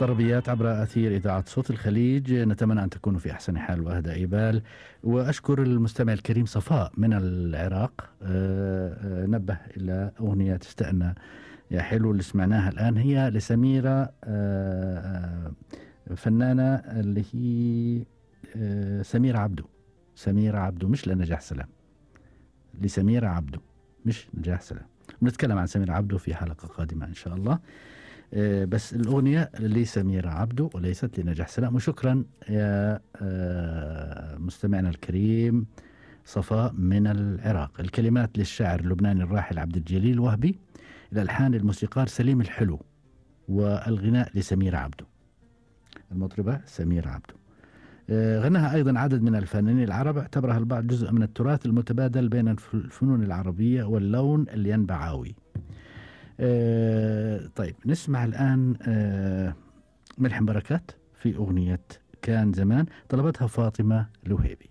طربيات عبر أثير إذاعة صوت الخليج، نتمنى أن تكونوا في أحسن حال وأهدى بال. وأشكر المستمع الكريم صفاء من العراق، نبه إلى أغنية تستأنى يا حلو اللي سمعناها الآن، هي لسميرة، فنانة اللي هي سميرة عبدو. سميرة عبدو مش لنجاح سلام، لسميرة عبدو مش نجاح سلام. نتكلم عن سميرة عبدو في حلقة قادمة إن شاء الله. بس الأغنية لسميرة عبدو وليست لنجاح سلام. وشكرا يا مستمعنا الكريم صفاء من العراق. الكلمات للشاعر اللبناني الراحل عبد الجليل وهبي، الألحان الموسيقار سليم الحلو، والغناء لسميرة عبدو، المطربة سميرة عبدو. غناها أيضا عدد من الفنانين العرب، اعتبرها البعض جزء من التراث المتبادل بين الفنون العربية واللون الينبعاوي. طيب نسمع الآن ملحم بركات في أغنية كان زمان، طلبتها فاطمة لوهيبي.